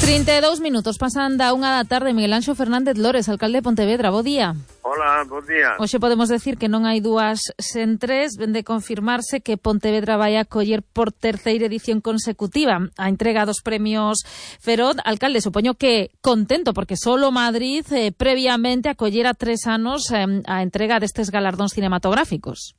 32 minutos pasan da 1 da tarde. Miguel Anxo Fernández Lores, alcalde de Pontevedra, bo día. Hola, bon día. Hoxe podemos decir que non hai dúas sen tres. Ven de confirmarse que Pontevedra vai a acoller por terceira edición consecutiva a entrega dos premios Feroz. Alcalde, supoño que contento, porque solo Madrid previamente acollera 3 anos a entrega destes galardóns cinematográficos.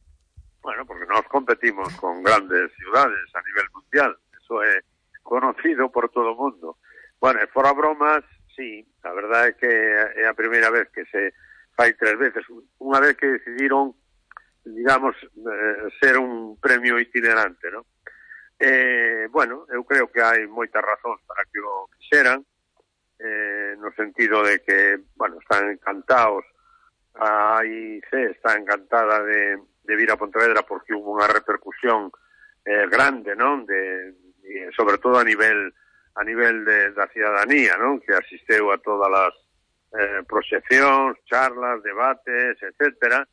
Bueno, porque nós competimos con grandes ciudades a nivel mundial. Eso é conocido por todo o mundo. Bueno, fora bromas, sí, a verdade é que é a primeira vez que se fai 3 veces. Unha vez que decidiron, digamos, ser un premio itinerante, ¿no? Bueno, eu creo que hai moitas razóns para que o quixeran, no sentido de que, bueno, están encantados, a AIC está encantada de vir a Pontevedra porque hubo unha repercusión grande, ¿no? Sobre todo a nivel da cidadanía, ¿no? Que asisteu a todas as proxeccións, charlas, debates, etcétera,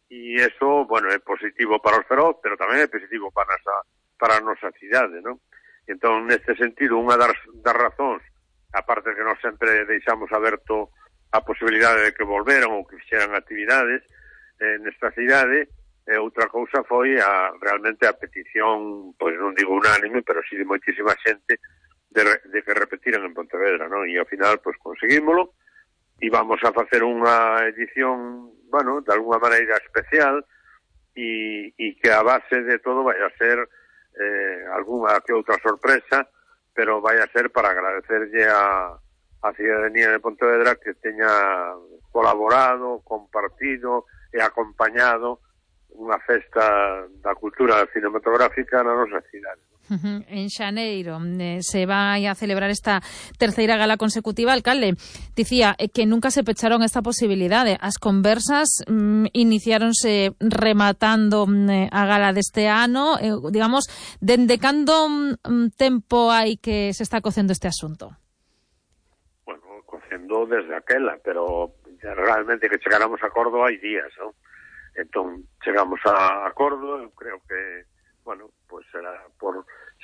e eso, bueno, é positivo para os Feroz, pero tamén é positivo para a nosa cidade, ¿no? Entón, neste sentido, unha das razóns, aparte que nós sempre deixamos aberto a posibilidade de que volveran ou que fixeran actividades nesta cidade, outra cousa foi realmente a petición, pois non digo unánime, pero sí de moitísima xente, de que repetiran en Pontevedra, ¿no? E ao final, pues conseguímolo, e vamos a facer unha edición, bueno, de alguna maneira especial, e que a base de todo vai a ser alguna que outra sorpresa, pero vai a ser para agradecerlle a cidadanía de Pontevedra que teña colaborado, compartido e acompañado unha festa da cultura cinematográfica na nosa cidade. En xaneiro se vai a celebrar esta terceira gala consecutiva. Alcalde, dicía que nunca se pecharon esta posibilidade. As conversas iniciáronse rematando a gala deste ano. Digamos, dende cando tempo hai que se está cocendo este asunto? Bueno, cocendo desde aquela, pero realmente que chegáramos a acordo hai días, non? Entón, chegamos a acordo, eu creo que, bueno, pues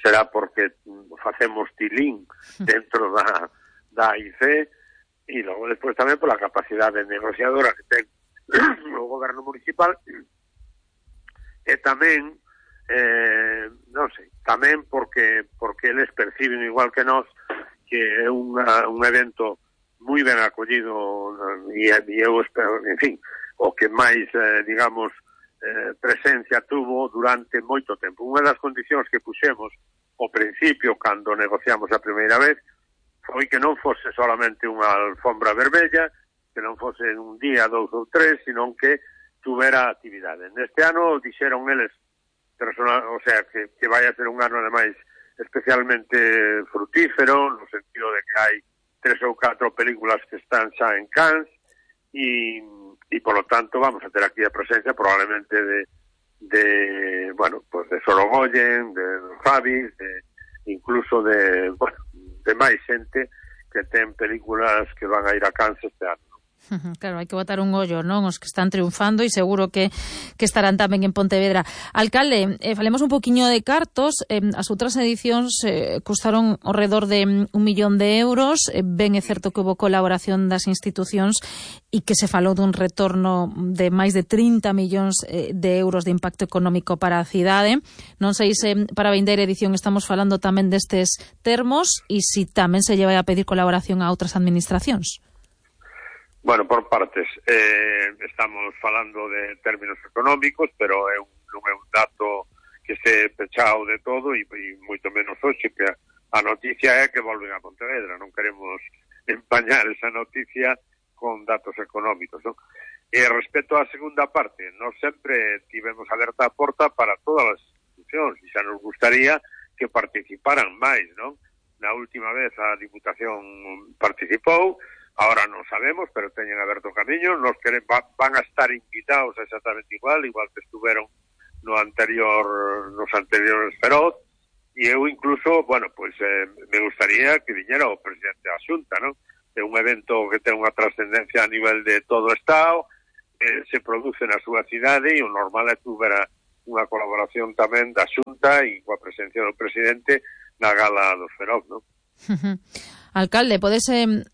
será porque facemos tilín dentro da AIC, e logo despois tamén pola capacidade negociadora que ten o goberno municipal, e tamén, non sei, tamén porque eles perciben igual que nós que é un evento moi ben acollido, e eu espero, en fin, o que máis, digamos, presencia tuvo durante moito tempo. Unha das condicións que puxemos ao principio, cando negociamos a primeira vez, foi que non fose solamente unha alfombra verbella, que non fose un día, 2 ou 3, sino que tuvera actividade. Neste ano dixeron eles, o sea, que vai a ser un ano, ademais, especialmente frutífero, no sentido de que hai 3 ou 4 películas que están xa en Cannes, e polo tanto vamos a ter aquí a presencia probablemente de bueno, pues de Sorogoyen, de Fabi, incluso de máis xente que ten películas que van a ir a Cannes este ano. Claro, hai que botar un ollo, non? Os que están triunfando, e seguro que estarán tamén en Pontevedra. Alcalde, falemos un poquinho de cartos. As outras edicións custaron ao redor de 1 millón de euros. Ben é certo que houve colaboración das institucións e que se falou dun retorno de máis de 30 millóns de euros de impacto económico para a cidade. Non sei se para a vindeira edición estamos falando tamén destes termos, e se tamén se lle vai a pedir colaboración a outras administracións. Bueno, por partes. Estamos falando de términos económicos, pero non é un dato que este pechado de todo, e moito menos hoxe, que a noticia é que volven a Pontevedra. Non queremos empañar esa noticia con datos económicos, non? E respecto á segunda parte, nós sempre tivemos aberta a porta para todas as institucións, e xa nos gustaría que participaran máis, non? Na última vez a Diputación participou. Ahora non sabemos, pero teñen aberto o camiño. Van a estar invitados exactamente igual que estuveron nos anteriores Feroz, e eu incluso, bueno, pues me gustaría que viñera o presidente da Xunta, ¿no? É un evento que ten unha trascendencia a nivel de todo o Estado, se produce na súa cidade, e o normal é que houbera unha colaboración tamén da Xunta e coa presencia do presidente na gala dos Feroz, ¿no? Alcalde, podes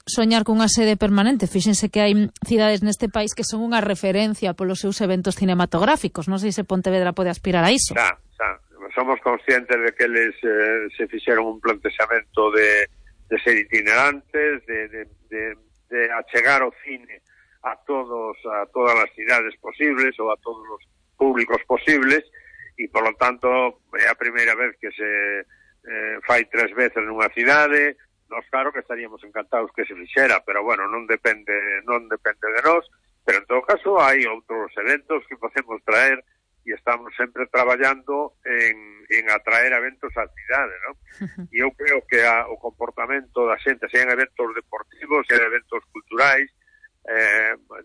soñar cunha sede permanente? Fíxense que hai cidades neste país que son unha referencia polos seus eventos cinematográficos. Non sei se Pontevedra pode aspirar a iso. Xa. Somos conscientes de que eles se fixeron un plantexamento de ser itinerantes, de achegar o cine a todas as cidades posibles ou a todos os públicos posibles, e, por lo tanto, é a primeira vez que se fai 3 veces nunha cidade. Nos, claro que estaríamos encantados que se fixera, pero, bueno, non depende de nós, pero, en todo caso, hai outros eventos que podemos traer e estamos sempre traballando en atraer eventos á cidade, non? E eu creo que o comportamento da xente, sean eventos deportivos, sean eventos culturais,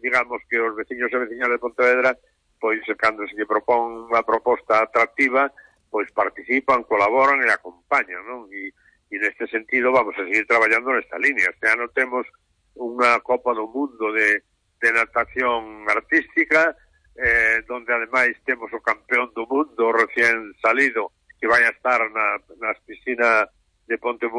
digamos que os veciños e veciñas de Pontevedra, pois, cando se lle propón unha proposta atractiva, pois participan, colaboran e acompañan, non? E neste sentido vamos a seguir traballando nesta línea. Este ano temos unha Copa do Mundo de natación artística, donde ademais temos o campeón do mundo recién salido, que vai a estar nas piscinas de Pontevedra,